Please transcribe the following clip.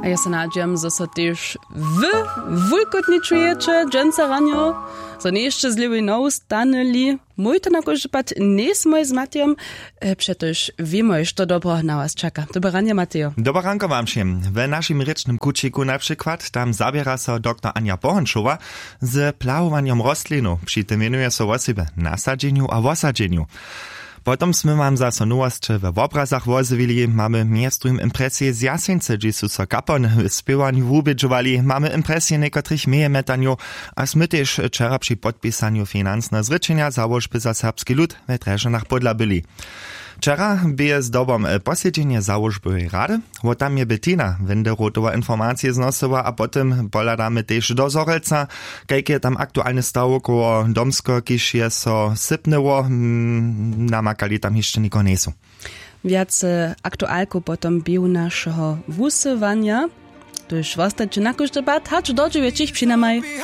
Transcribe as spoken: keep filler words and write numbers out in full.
A ja so nadźijam, zo so tež wy wulkotni čujeće dźensa ranjo, zo njeješte z lěwej nohu stanyli. Mój to na kóždy pad njejsmoj z Matejom. E, přetož wěmoj, što dobreho na was čaka. Dobre ranje, Matejo. Dobre ranko wam wšěm. We našim rěčnym kućiku na přikład tam zaběra so doktor Anja Pohončowa z plahowanjom rostlinow. Při tym wěnuje so wosebje nasadźenju a wosadźenju. Potom smy wam zaso nowosće we wobrazach wozjewili. Mamy mjez druhim impresije z Jaseńcy, hdźež su so kapony w spěwanju wubědźowali. Mamy impresije někotrych mejemjetanjow a smy tež wčera při podpisanju financneho zrěčenja załožby za serbski lud we Drježdźanach pódla byli. Wčera bě zdobom, e, posedźenje załožbowej rady. Wo tam je Bettina Wenderotowa informacije znosyła a potom pohladamy tež do Zhorjelca, kajke je tam aktualny staw koło Domskeho, kiž je so sypnyło. Mm, namakali tam hišće niko njejsu. Wjace aktualkow potom běhu našeho wusyłanja. Tuž wostajće na kóždy pad hač do dźewjećich přinajmaj.